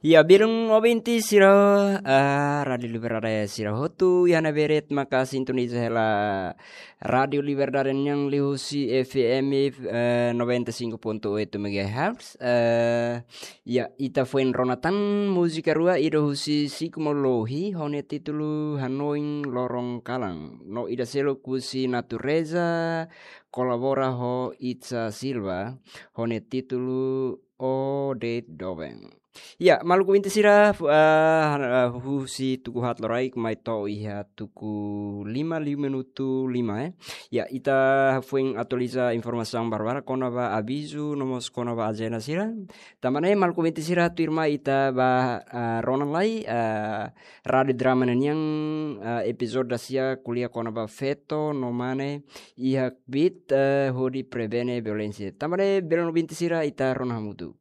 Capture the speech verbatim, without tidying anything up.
Ya, belun ouvinte sira, ah, Rádiu Liberdade sira hotu, iha ne'ebé de'it maka sintoniza hela Rádiu Liberdade nian liuhusi F M, eh, noventa e cinco ponto oito megahertz. Eh, ya, ita foin rona tan múzika rua, ida husi Siku Molohi, ho nia títulu Hanoin Loron Kalan. No ida seluk husi Natureza, kolabora ho Itza Silva, ho nia títulu O De'it Doben. Ya, maluk ouvinte sira, fu-, ah, han-, ah, husi tuku haat loraik mai to'o iha tuku lima liu minutu lima, eh. Ya, ita foin atualiza informasaun barak-barak kona-ba avizu, no mós kona-ba ajenda sira. Tanba ne'e maluk ouvinte sira, tuirmai ita bá, ah, rona lai, ah, Rádiu Drama nian, ah, epizódiu dasia ko'alia kona-ba feto no mane iha kbiit, eh, hodi prevene violénsia. Tanba ne'e belun ouvinte sira, ita rona hamutuk.